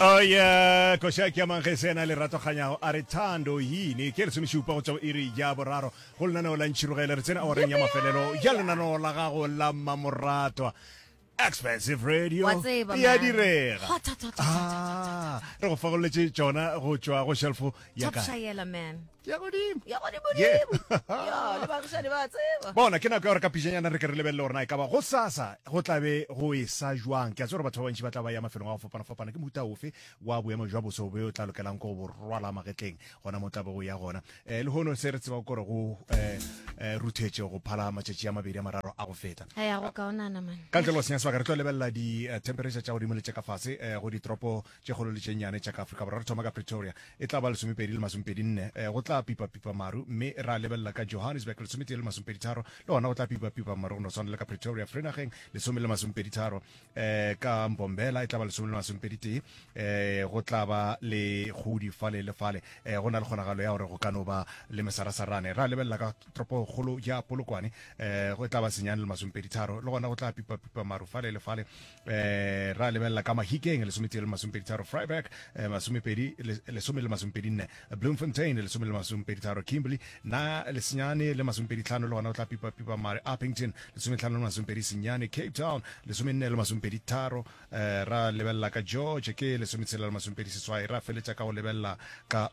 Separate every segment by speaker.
Speaker 1: Oh yeah, koša ke ya mangese ena lerato kganyago a re thando yini ke lesomešupa go tšwa go iri ya boraro go lenaneo la ntšhirogele re tsene awareng ya mafelelo ya lenaneo la gago la mmamoratwa expensive radio
Speaker 2: Wa tseba,
Speaker 1: ya
Speaker 2: man.
Speaker 1: direga
Speaker 2: Hot, hot, hot, hot, hot, hot, hot,
Speaker 1: Ah, re go fagoletše tšona go tšwa go shelfo ya
Speaker 2: Top
Speaker 1: kae
Speaker 2: shayela man.
Speaker 1: ya godimo
Speaker 2: Ya godimo
Speaker 1: Yeah.
Speaker 2: dimo. Ya, le baagišani ba tseba.
Speaker 1: Bona, ke nako ya gore ka pejanyana re ke re lebelele gore na e ka ba gosasa go tla be go esa jwang. Ke a tseba gore batho ba bantši ba tla ba ya mafelong a go fapana-fapana. Ke mohuta ofe wa boemo jwa boso bo o tla lokelang ke go bo rwala magetleng gona mo tla be go ya gona? Um lehono se re tsebago ke gore go um ruthetše go phala matšatši a mabedi a mararo a go feta.
Speaker 2: A ya go kaonana man.
Speaker 1: Ka ntle le go senya sebaka, re tlo lebelela di-temperature tša godimo le tša ka fase um go ditoropo tše kgolo le tše nnyane tša ka Afrika Borwa. Re thoma ka Pretoria, e tla ba lesomepedi le masomepedi nne, go tla pipa-pipa maru, mme ra lebelela ka Johannesburg, lesometee le masomepedi tharo, le gona go tla pipa-pipa maru go no swana le ka Pretoria. Vereeniging, lesome le masomepedi tharo, ka Mbombela e tla ba lesome le masomepedi tee, go tla ba le kgudi fale le fale, go na le kgonagalo ya gore go ka no ba le mesarasarane. Ra lebelela ka toropokgolo ya Polokwane, go tla ba senyane le masomepedi tharo, le gona go tla pipa-pipa maru fale le fale. Eh, ra lebelela ka Mahikeng lesometee le masomepeditharo, Vryburg eh, masomepedi lesome le masomepedinne, Bloemfontein lesome le masomepeditharo, Kimberley na lesenyane le masomepeditlhano, le gona o tla pipa-pipa mare, Upington lesometlhano le masomepedi senyane, Cape Town lesomenne le masomepeditharo, eh, ra lebelela ka George ke lesometshela le masomepedi seswai, ra feletša ka go lebelela ka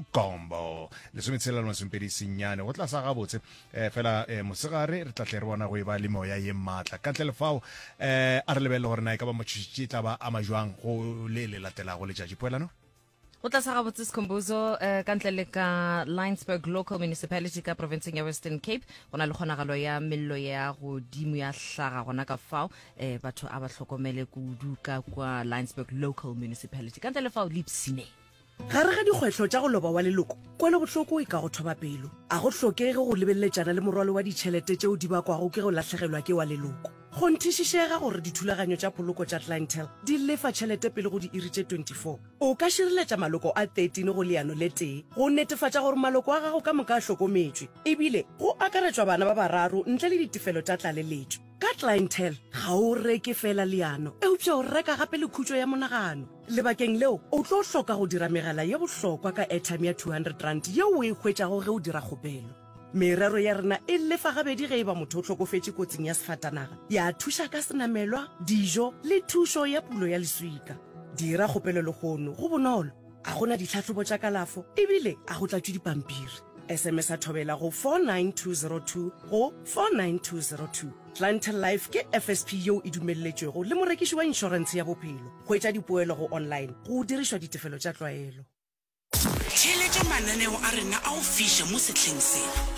Speaker 1: Ugugombo lesometshela le masomepedi senyane. Go tla sa gabotse Eh, fela eh, mosegare re tla tle re bona go e ba le moya ye maatla. Ka ntle le fao, eh, a re lebelele gore na e ka ba matšhošetši e tla ba ama jwang go le le latelago letšatši. Poelano?
Speaker 3: Go tla sa gabotse Skhumbuzo eh, ka ntle le ka Linesburg Local Municipality ka provinceng ya Western Cape go na le kgonagalo ya mello ya godimo ya hlaga gona ka fao eh, batho a ba hlokomele kudu ka kwa Linesburg Local Municipality ka ntle le fao Lipsine.
Speaker 4: Gare ga dikgwetlho tša go loba wa leloko, kwelobohloko e ka go thoba pelo. A go hlokege go lebeleletšana le morwalo wa ditšhelete tšeo di bakwago ke go lahlegelwa ke wa leloko. Kgonthišišega gore dithulaganyo tša poloko tša Clientele di lefa tšhelete pele go diiri tše 24. O ka šireletša maloko a 13 go leano le tee go netefatša gore maloko a gago ka moka a hlokometšwe, ebile go akaretšwa bana ba bararo ntle le ditefelo tša tlaleletšo. Ka Clientele, ga o reke feela leano, eupša o reka gape le khutšo ya monagano. Lebakeng leo, o tlo hloka go dira megala ye bohlokwa ka airtime ya R200 yeo o e hwetšago ge o dira kgopelo. Merero ya rena e lefa gabedi ge e ba motho o hlokofetše kotsing ya sefatanaga, ya thuša ka senamelwa, dijo le thušo ya pulo ya leswika. Dira kgopelo lehono, go bonolo, ga go na ditlhahlobo tša kalafo ebile ga go tlatšwe dipampiri. SMS-a Thobela go 49202 go 49202. Clientele Life ke FSP yeo e dumelletšwego le morekiši wa inšorentshe ya bophelo. Hwetša dipoelo go online go dirišwa ditefelo tša tlwaelo.
Speaker 5: Theeletša mananeo a rena a go fiša mo sehleng se.